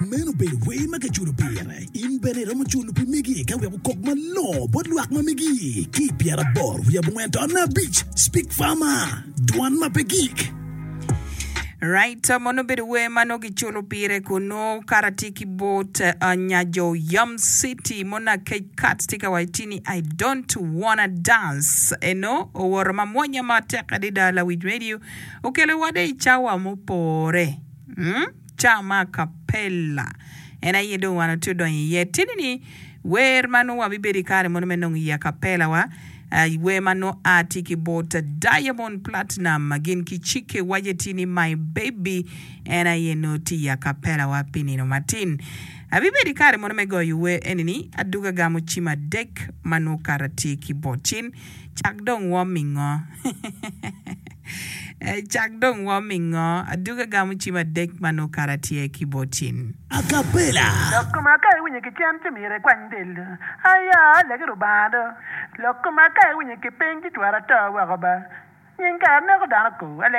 Meno obedo wer ma kiculo pire. In bene iromo culo pi megi ka wek okok malongo bot lwak ma megi ki i 85.5 Speak Farmer, Dwan ma pe gik. Right, mono obedo wer ma nongo kiculo pire kunu kara tye ki bot uh, nyajo Yam City mono akec kat tye ka waco tye ni I don't wanna dance eno owoto ma mwonya matek adada lawic radio okelo wade i cawa mupore mm? Ca ma acapella en aye dong wan watye odonyo iye. Tini ni wer ma nongo wabibedo i kare mono me nongo i acapella wa, wer ma nongo a tye ki bot Diamond Platnumz gin ki Chike wace tye ni My Baby en aye nongo tye i acapella wa pi nino matin. Abibedo i kare mono me goyo wer eni ni aduga agamo cim adek ma nongo kara tye ki bot cin. Cak dong wom mingo. Cak dong wom mingo. Aduga gamo cim adek ma nongo kara tye ki bot cin. Acapella. Lok koma ka iwinyo ki cen ci myero ikwany del do. Aya, legi Rubanga do. Lok koma ka iwinyo ki piny ci twero ato woko ba. Nying kara neko dano ko. Alegi.